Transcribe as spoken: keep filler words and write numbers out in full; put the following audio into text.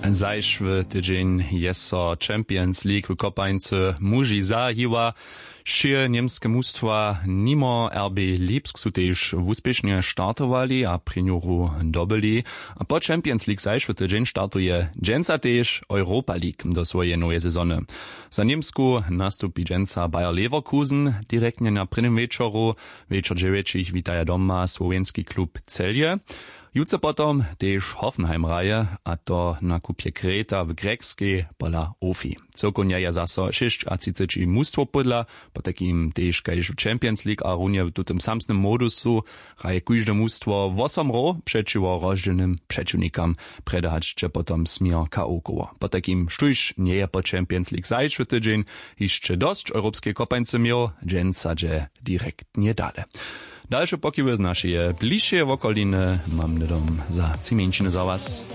Zašły tydźeń je so Champions League w kopańcy muži zahiła. Wšě němske mustwa nimo R B Lipsk su tež wuspěšnje startowali a prěnjoru dobyli. A po Champions League zašły tydźeń startuje dźensa tež Europa League do swojeje noweje sezony. Za Němsku nastupi dźensa Bayer Leverkusen direktnje na prěnim wječoru. Wječor dźewjećich witaja doma słowjenski klub Celje. Jutře potom tež Hoffenheim hraje, a to na kupje Kreta w Grjekskej pola Ofi. Cyłkownje je zaso šěsćatřiceći mustwow pódla, potajkim tež kaž w Champions League a runje w tutym samsnym modusu hraje kóžde mustwo wosom hrow přećiwo rozdźělnym přećiwnikam. Prjedy hač će potom směr K O koło. Potajkim štóž njeje po Champions League zašły tydźeń, hišće dosć europskeje kopańcy měł, dźensa dźe direktnje dale. Dalše pokiwy z našeje bližšeje wokoliny mam hnydom za tři mjeńšiny za was.